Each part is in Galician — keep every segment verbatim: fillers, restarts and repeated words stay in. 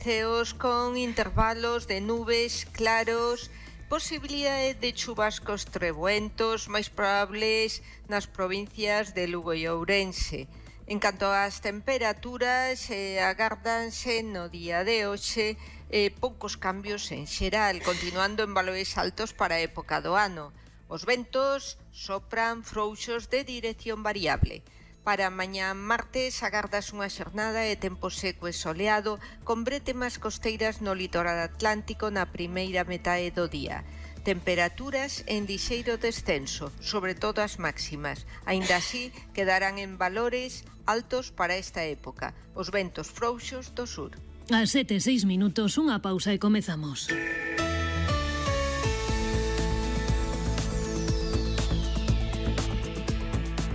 ceos con intervalos de nubes claros, posibilidade de chubascos treboentos máis probables nas provincias de Lugo e Ourense. En canto ás temperaturas, eh, agárdanse no día de hoxe eh, poucos cambios en xeral, continuando en valores altos para a época do ano. Os ventos sopran frouxos de dirección variable. Para mañá martes agardas unha xornada de tempo seco e soleado con brétemas costeiras no litoral atlántico na primeira metade do día. Temperaturas en lixeiro descenso, sobre todo as máximas. Aínda así, quedarán en valores altos para esta época. Os ventos frouxos do sur. A sete e seis minutos, unha pausa e comezamos.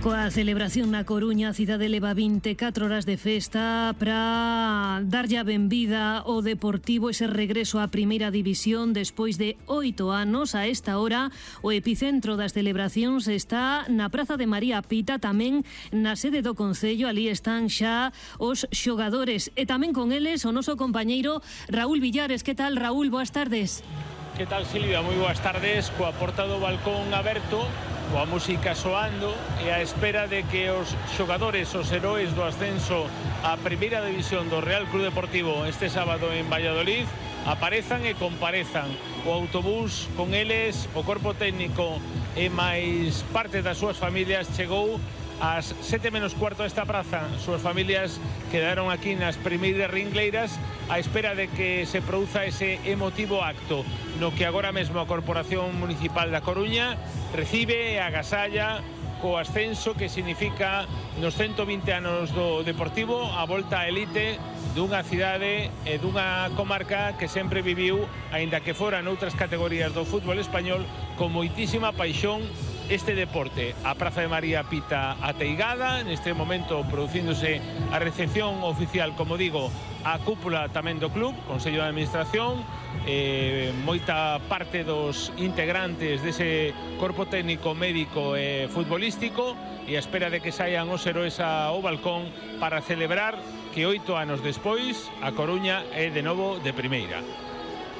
Coa celebración na Coruña, a cidade leva vinte e catro horas de festa para darlle a benvida ao Deportivo ese regreso á primeira división despois de oito anos. A esta hora, o epicentro das celebracións está na Praza de María Pita, tamén na sede do Concello. Ali están xa os xogadores e tamén con eles o noso compañeiro Raúl Villares. Que tal, Raúl? Boas tardes. Que tal, Silvia? Moi boas tardes. Coa porta do balcón aberto, coa música soando e a espera de que os xogadores, os heróis do ascenso á primeira división do Real Club Deportivo este sábado en Valladolid aparezan e comparezan. O autobús con eles, o corpo técnico e máis parte das súas familias chegou ás sete menos cuarto a esta praza. Súas familias quedaron aquí nas primeiras ringleiras á espera de que se produza ese emotivo acto no que agora mesmo a Corporación Municipal da Coruña recibe e agasalla co ascenso que significa nos ciento vinte anos do Deportivo a volta á elite dunha cidade e dunha comarca que sempre viviu, aínda que fora noutras categorías do fútbol español, con moitísima paixón este deporte. A Praza de María Pita ateigada, neste momento producíndose a recepción oficial, como digo, a cúpula tamén do club, Consello de Administración, eh, moita parte dos integrantes dese corpo técnico, médico e futbolístico, e a espera de que saian os heróis ao balcón para celebrar que oito anos despois a Coruña é de novo de primeira.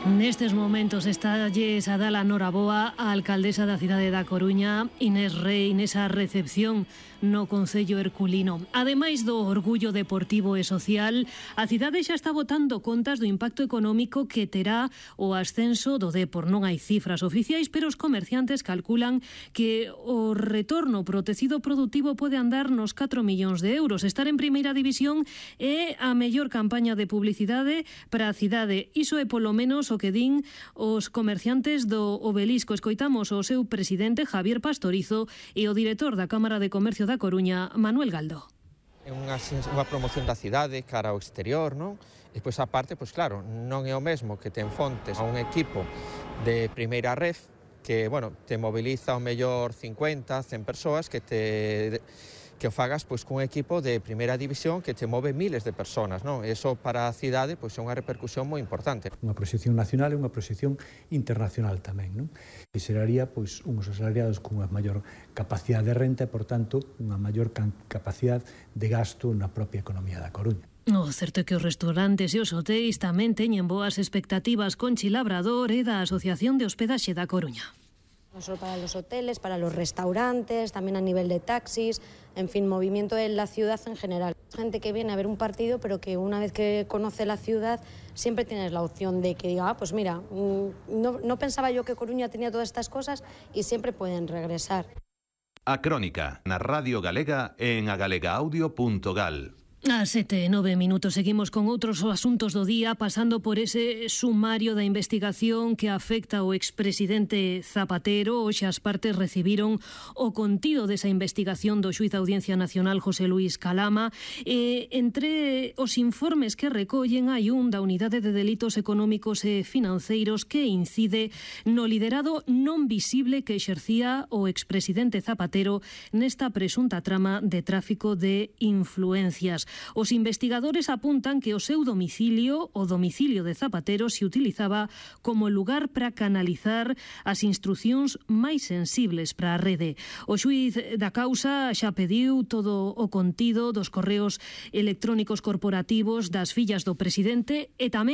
Nestes momentos estalles a dar a noraboa a alcaldesa da cidade da Coruña, Inés Rei, nesa recepción no Concello Herculino. Ademais do orgullo deportivo e social, a cidade xa está botando contas do impacto económico que terá o ascenso do Depor. Non hai cifras oficiais, pero os comerciantes calculan que o retorno pro tecido productivo pode andar nos catro millóns de euros. Estar en primeira división é a mellor campaña de publicidade para a cidade. Iso é polo menos o que din os comerciantes do Obelisco. Escoitamos o seu presidente, Javier Pastorizo, e o director da Cámara de Comercio da Coruña, Manuel Galdo. É unha, unha promoción da cidade cara ao exterior, non? E depois, a parte, pois claro, non é o mesmo que te enfontes a un equipo de primeira ref que, bueno, te moviliza ao mellor cincuenta, cen persoas que te... que o fagas pois cun equipo de primeira división que te move miles de personas, non? Eso para a cidade pois é unha repercusión moi importante. Unha proxección nacional e unha proxección internacional tamén, non? E xeraría pois uns asalariados cunha maior capacidade de renta e, por tanto, unha maior capacidade de gasto na propia economía da Coruña. O certo é que os restaurantes e os hotéis tamén teñen boas expectativas. Conchi Labrador é da Asociación de Hospedaxe da Coruña. No solo para los hoteles, para los restaurantes, también a nivel de taxis, en fin, movimiento en la ciudad en general. Gente que viene a ver un partido, pero que una vez que conoce la ciudad, siempre tienes la opción de que diga, ah, pues mira, no, no pensaba yo que Coruña tenía todas estas cosas y siempre pueden regresar. A Crónica, na Radio Galega en agalegaudio punto gal. A sete e nove minutos seguimos con outros asuntos do día, pasando por ese sumario da investigación que afecta ao expresidente Zapatero. Hoxe as partes recibiron o contido desa investigación do xuíz da Audiencia Nacional José Luis Calama. E entre os informes que recollen hai un da Unidade de Delitos Económicos e Financeiros que incide no liderado non visible que exercía o expresidente Zapatero nesta presunta trama de tráfico de influencias. Os investigadores apuntan que o seu domicilio, o domicilio de Zapatero, se utilizaba como lugar para canalizar as instrucións máis sensibles para a rede. O xuíz da causa xa pediu todo o contido dos correos electrónicos corporativos das fillas do presidente e tamén